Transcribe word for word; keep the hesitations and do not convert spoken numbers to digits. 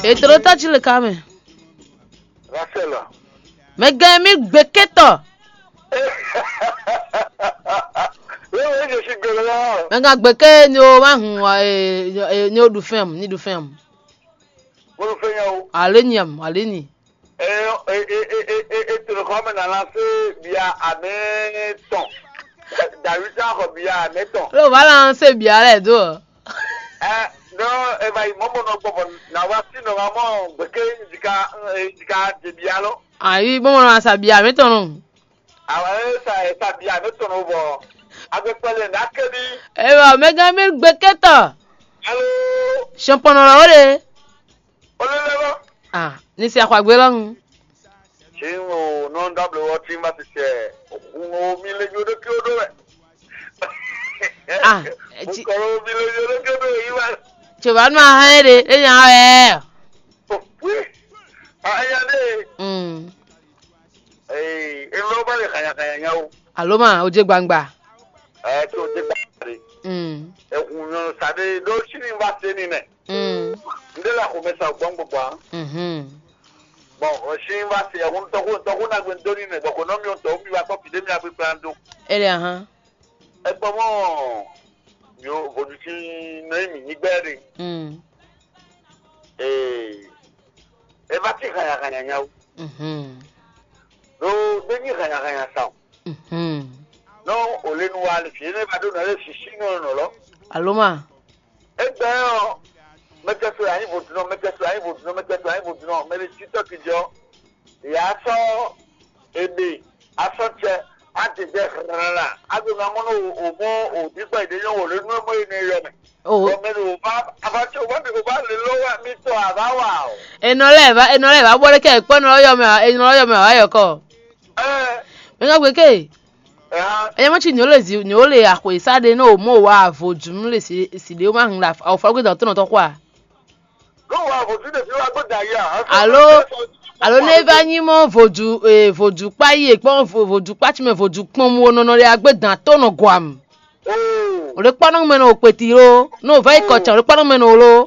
Ètò ɖo tɔ́ jí le ká mɛ. Rachel. Mɛ gɛn mi gbé kétɔ. Wéwé jɛ si gbɛlɛ la. Mɛ gɛn gbé ké ni o ma hun wa e ni o ɖu fɛn mu ni ɖu fɛn mu. Mo ɖu fɛn nya o. Ale nyi am ale nyi. E e e e e e toro kɔ mɛ nana se bia amɛ tɔn. David sa xɔ bia amɛ tɔn. Lo va lan se bia lɛ do. Ɛ dɔ e va yi mɔ mɔ nɔ gbɔ bɔ na wa si nɔ wa mɔ gbɛkɛ jika jika de bia lɔ. Ayi bɔn mɔ nɔ sa bia amɛ tɔn nɔ. Awa e sa e sa bia amɛ tɔn nɔ bɔ agbɛkpɛlɛ na kɛ bi. Ewa mɛ gã mi gbé kétɔ. Alo. Sɔn pɔnɔ lɔ o de. Olólùwọ́. Ah, ní sí àkọ́gbé lọ́rùn. Tí n ò nɔ dábìlì wɔ tí n bá ti tẹ òkun omi lé yódó kí ó dó wẹ̀. Ah, Mo tí kọ̀ omi lé yódó kí ó dó yìí wá. Tí o bá nú ahọ́n yẹn de, é yàn án ẹ̀. Òpí. Ayáde. Mm. Ee, èmi ló bá lè kàyàkàyà yẹn o. Àló mà, ó jẹ́ gbangba. Ẹ tí o dé gbàgbé. Mm. Ẹ̀hún yẹn sáré ló sí ní bá ṣe nínú ẹ̀. Mm. Ndé la kò mẹ́sàn-án gbọ́n gbogbo à. Mhm. Bɔn ɔsi va se ɛhun tɔxu tɔxu na gbe doni nɛ bɔ ko nɔ mi tɔ mi wa kɔ fi de mi akpekpe an do. Ele ahan. Egbɔ mɔ yo vodusi nɔ yi mi nyi gbɛ de. Mm. Ee, e va ti hanya hanya nyawo. Mhm. Do de nyi hanya hanya sa o. Mhm. Nɔ o le nu wa le fi ne va do nɔ le sisi nɔ nɔ lɔ. Aloma. Egbɛ ɔ, mɛtɛso anyi vodunɔ, mɛtɛso anyi vodunɔ, mɛtɛso anyi vodunɔ, mɛ ɖe titɔ kejɔ. Ya sɔ ebe asɔtsɛ adedɛ hlala. Ado na mɔ no o mɔ o bigba ide nyɔ o le nu mɔ ene yɔ mɛ. O. Bɔ mɛ ɖe o ba abatse o ba mi o ba le lɔ wa mi tɔ ava wa o. Enɔ lɛ va enɔ lɛ va bɔ ɖe kɛ kpɔ enɔ yɔ mɛ enɔ yɔ mɛ wa yɔ kɔ. Ɛɛ. Mɛ ka gbe ke. Ɛɛ. Enye mɔ tsi nyɔ le zi nyɔ le axwe sa ɖe no o mɔ wa vodzu nu le si si ɖe o ma hun la o fɔ gbe dɔ tɔnɔ tɔ kɔ a. Ló wà àbòsí lè fi wá gbọ́dọ̀ ayé à. Alo alo ne va nyi mɔ vodzu ee vodzu kpa yi e kpɔn vo- vodzu kpa tsi mɛ vodzu kpɔn mu o nɔnɔ ɖe agbe dan to nɔ gɔam. Oo. O ɖe kpɔnɔ mɛ nɔ o kpeti lo, no o va yi kɔ tsan o ɖe kpɔnɔ mɛ nɔ o lo.